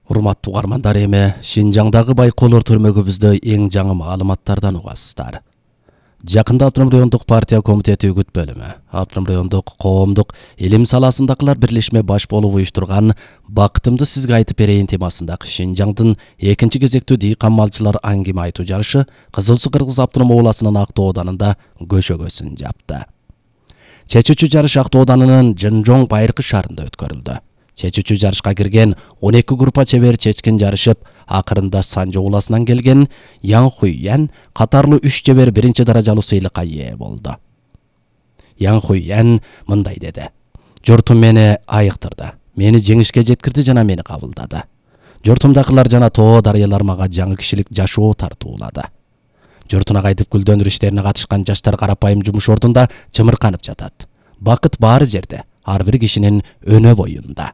Урматтуу угармандар, эми Шинжаңдагы байкоолор түрмөгүбүздө эң жаңы маалыматтардан угасыздар. Жакында Автоном райондук партия комитети үгүт бөлүмү, Автоном райондук коомдук илим саласындагылар бирлешме баш болуп уюштурган «Бакытымды сизге айтып берейин» темасындагы Шинжаңдын экинчи кезектүү дыйкан малчылар аңгеме айтуу жарышы Кызыл Суу Кыргыз автоном областынын Актоо ауданында көшөгөсүн жапты. Чечүүчү жарыш Актоо ауданынын Жынжоң Байыркы шаарында өткөрүлдү. Чечүүчү жарышка кирген 12 группа чебер чечкин жарышып, акырында Санжы ууласынан келген Ян Хуйян катарлуу 3 чебер биринчи даражалуу сыйлыкка ээ болду. Ян Хуйян мындай деди: "Журтум мени айыктырды, мени жеңишке жеткирди жана мени кабылдады. Журтумдакылар жана тоо дарыялар мага жаңы кишилик жашоо тартуулады. Журтуна кайтып гүлдөндөр иштерине катышкан жаштар карапайым жумуш ордунда чымырканып жатат. Бакыт баары жерде, ар бир кишинин өнө боюнда."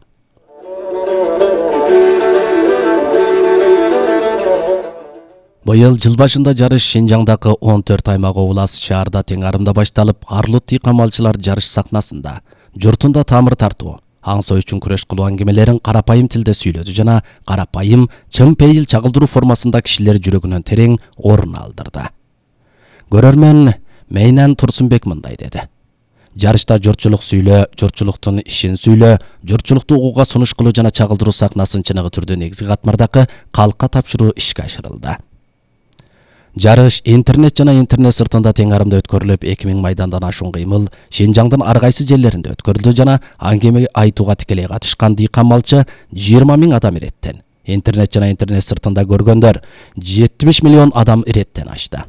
Быйыл жыл башында жарыш Шинжаңдагы 14 аймак облас шаарда тең арымда башталып, Арлут дыйкан малчылар жарыш сахнасында журтунда тамыр тартуу, аңсоо үчүн күрөш кылуу аңгемелерин карапайым тилде сүйлөдү жана карапайым, чын пейил чагылдыруу формасында кишилер жүрөгүнөн терең орун алдырды. Көрөрмөн Мейнан Турсунбек мындай деди: "Жарышта журтчулук сүйлөө, журтчулуктун ишин сүйлөө, журтчулукту угууга сунуш кылуу жана чагылдыруу сахнасын чыныгы түрдө негизги катмардагы калкка тапшыруу ишке ашырылды. Жарыш интернет жана интернет сыртында тең арымда өткөрүлүп, 2000 майдандан ашуун кыймыл Шинжаңдын ар кайсы жерлеринде өткөрүлдү жана аңгеме айтууга тикелей катышкан дыйкан малчы 20 000 адам иреттен, интернет жана интернет сыртында көргөндөр 70 миллион адам иреттен ашты.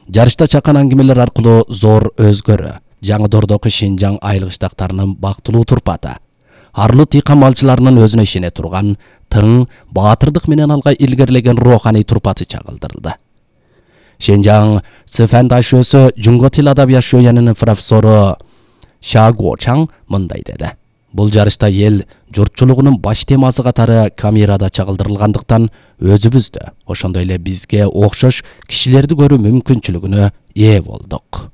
Жарышта чакан аңгемелер аркылуу зор өзгөрүү, жаңы-дордогу Шинжаң айылгыштактарынын бактылуу турпаты, Арлут дыйкан малчыларынын өзүнө ишене турган, тың, баатырдык менен алга илгерилеген руханий турпаты чагылдырылды. Шинжаң Цифандашөсү Жунго тил адабият шөйянынын профессору Шаго Чаң мындай деди: "Бул жарышта эл журтчулугунун баш темасы катары камерада чагылдырылгандыктан өзүбүздө, ошондой эле бизге окшош кишилерди көрүү мүмкүнчүлүгүнө ээ болдук."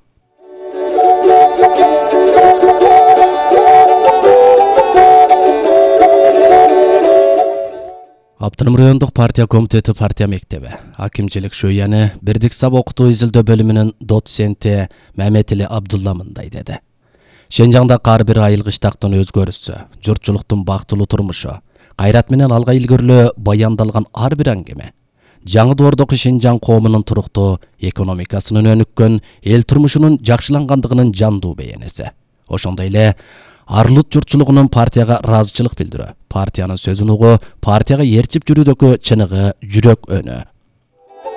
Автоном райондук партия комитети партия мектеби, акимчилик шөйяны бирдик сап окутуу изилдөө бөлүмүнүн доценти Мамедили Абдулла мындай деди: "Шинжаңда ар бир айылгыштактын өзгөрүшү, журтчулуктун бактылуу турмушу, кайрат менен алга илгөрүлөө баяндалган ар бир аңгеме жаңы доордогу Шинжаң коомунун туруктуу экономикасынын өнүккөн, эл турмушунун жакшылангандыгынын жандуу бейнеси. Ошондой эле Арлут журтчулугунун партияга ыраазычылык билдирүү, партиянын сөзүн угуу, партияга ээрчип жүрүүдөгү чыныгы жүрөк өнү.